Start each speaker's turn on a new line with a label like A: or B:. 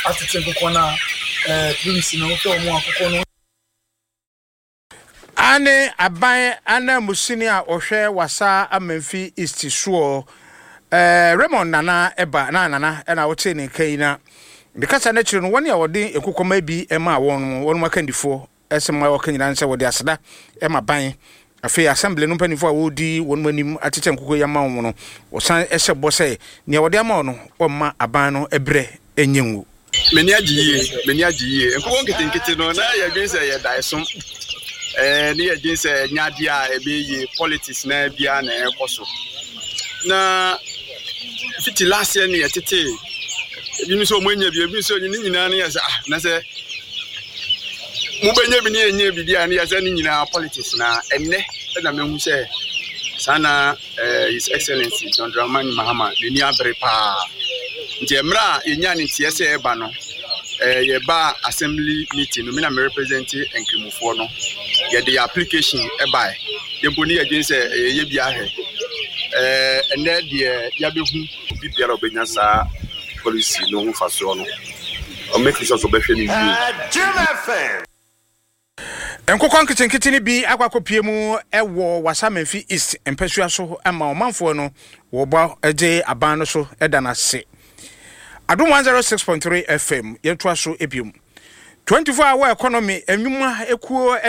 A: atete nkokɔ no a PBC no wohwɛ wɔn a nkokɔ no.
B: Aane, aban ananmusini a ɔhwɛ Wassa Amenfi East soɔ, Raymond Nana ba, na Nana na wotee ne nka yi, na ne kasa no akyiri no, wɔn a wɔde nkokɔmma bi maa wɔn no, wɔn akandifoɔ sɛ ma wɔka nyinaa ne sɛ wɔde aseda ma ban. Afei Assembly no mpanimfoɔ a wɔredi wɔn anim akyekyɛ nkokɔ yi ama wɔn no, wɔsan hyɛ bɔ sɛ nea wɔde ama wɔn no, wɔmma aban no brɛ nyɛ ngu.
C: M'ani agye yie, m'ani agye yie. Nkokɔ nketenkete no, na yɛdwen sɛ ɛyɛ daeso. Ɛɛ, ne yɛdwen sɛ ɛnyɛ adeɛ a ɛbɛyɛ yie, politics na biara na ɛrekɔ so. Na fiti last year ne yɛtetee, ebinom sɛ wɔn anya bi, ebi nso ne nyinaa ne yɛ sɛ ah, na sɛ mobɛnya bi ne yɛnyɛ bi deɛ a ne yɛ sɛ ne nyinaa politics na ɛnnɛ ɛna mehu sɛ saa na eh, His Excellency John Dramani Mahama n'ani abere paa. Nti mmerɛ a yɛnya ne nteɛ sɛ ɛba no, eh, yɛba assembly meeting no, me na me represent nkramofoɔ no, yɛde yɛ application ɛbae. Yɛmpo ne yɛdwen sɛ ɛyɛ bi ahwɛ. Eh, ɛnɛ deɛ yɛabɛhu.
D: Obi biara a ɔbɛnya saa policy no ho mfasoɔ no, ɔmmake sure sɛ ɔbɛhwɛ no yie.
B: Nkokɔ nketenkete no bi akɔ akɔpue mu wɔ Wassa Menfi East mpasua so ma ɔmanfoɔ no wɔbɔ gye aban no so da no ase. Adom 106.3 FM yɛtoa so biom. 24 hour economy nnwuma kuo ne.